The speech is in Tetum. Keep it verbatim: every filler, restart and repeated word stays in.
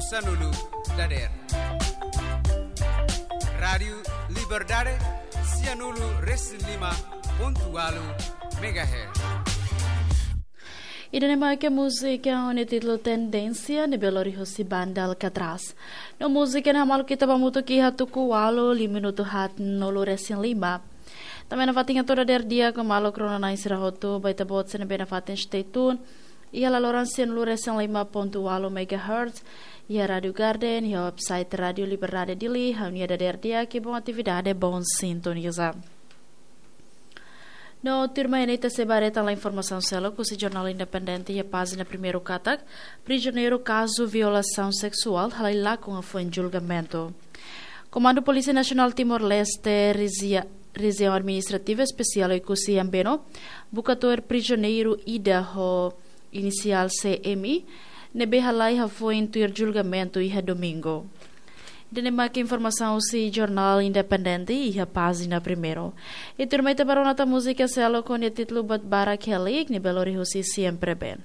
Sanulu dader. Rádiu Liberdade, sianulu resin lima pontu walu megahertz. Ida-ne'e mak múzika ho nia títulu Tendénsia, ne'ebé lori husi banda Alcatraz. No múzika ne'e hamaluk ita ba hamutuk iha tuku walu, liu minutu haatnulu resin lima. Tanba ne'e nafatin hato'o dader di'ak ho maluk rona-na'in sira hotu, ba ita-boot sira ne'ebé nafatin stay tune iha laloran sianulu resin lima pontu walu megahertz, iha Rádiu Garden, iha website Rádiu Liberdade Dili, ha'u-nia dader di'ak, bom atividade, bom sintoniza. No tuirmai ne'e ita sei ba haree tan informasaun seluk husi Jornál Independente iha pájina primeiru katak, prizioneiru kazu violasaun seksuál halai lakon hafoin julgamentu. Komandu Polísia Nasionál Timor-Leste, Rejia-, Rejiaun Administrativa Espesiál Oekusi Ambeno, buka tuir prizioneiru ida ho inisiál C M, ne'ebé halai hafoin tuir julgamentu iha Domingu. Ida-ne'e mak informasaun husi Jornál Independente iha pájina primeiru. I tuirmai ita ba rona tan múzika seluk ho nia títulu Buat Barak Heliik, ne'ebé lori husi Siempre Ben.